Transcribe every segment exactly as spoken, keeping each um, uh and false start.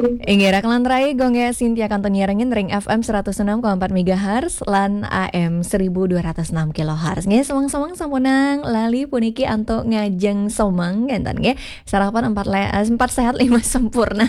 Inggih, rakan lantarai, Gung Gé Sintia kantun nyarengin ring F M seratus enam koma empat megahertz lan A M seribu dua ratus enam kilohertz. Nggih, semeng-semeng sampunang lali puniki antuk ngajeng semeng, kénten nggih. Sarapan empat le-, eh, empat sehat lima sempurna.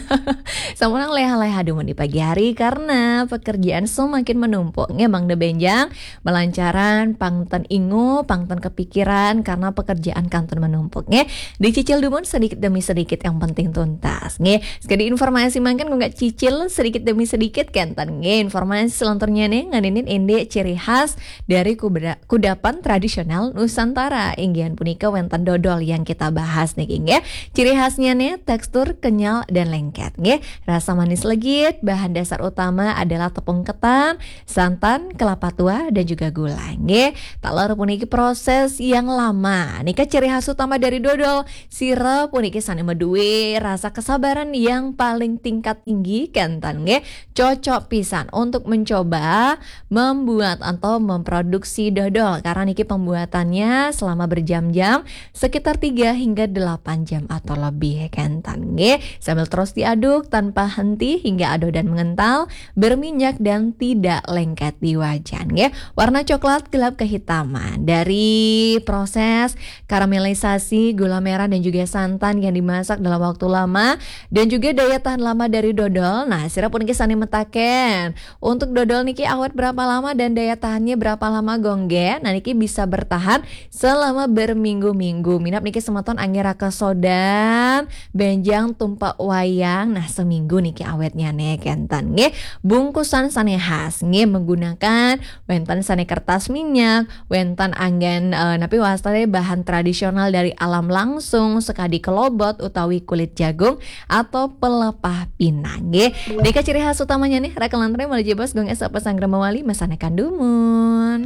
Sampunang léha-léha dumun di pagi hari karena pekerjaan semakin menumpuk. Nggih, mangda bénjang, malancaran, pang ten ingu, pang ten kepikiran karena pekerjaan kantun menumpuk, nggih. Dicicil dumun sedikit demi sedikit, yang penting tuntas, nggih. Sekadi informasi mangkin, Gung Gé cicil sedikit demi sedikit, kénten, nggih. Informasi selanturnyané ngeninin indik ciri khas dari kubeda-, kudapan tradisional Nusantara. Inggihan punika wénten dodol yang kita bahas niki, nggih. Ciri khasnyané tekstur kenyal dan lengket, nggih. Rasa manis legit, bahan dasar utama adalah tepung ketan, santan, kelapa tua, dan juga gula, nggih. Taler puniki proses yang lama. Nika ciri khas utama dari dodol. Sira puniki sané madué rasa kesabaran yang paling tingkat tinggi, kénten nggih. Cocok pisan untuk mencoba membuat atau memproduksi dodol karena niki pembuatannya selama berjam-jam, sekitar tiga hingga delapan jam atau lebih, kénten nggih. Sambil terus diaduk tanpa henti hingga adonan mengental, berminyak dan tidak lengket di wajan, nggih. Warna coklat gelap kehitaman dari proses karamelisasi gula merah dan juga santan yang dimasak dalam waktu lama dan juga daya tahan lama dari dodol. Nah, sira puniki sané metaken, untuk dodol niki awet berapa lama dan daya tahannya berapa lama, Gung Gé? Nah, niki bisa bertahan selama berminggu-minggu. Minab niki semeton anggé raka sodan, bénjang tumpek wayang. Nah, seminggu niki awetnyané, kénten nggih. Bungkusan sané khas nggih, menggunakan wénten sané kertas minyak, wénten anggén, eh, napi wastané, bahan tradisional dari alam langsung, sekadi kelobot utawi kulit jagung atau pelepah pinang nggih. Nika ciri khas utamanya nih, rakan lantarai, malih jebos Gung Gé sampun sanggra mawali masanekan dumun.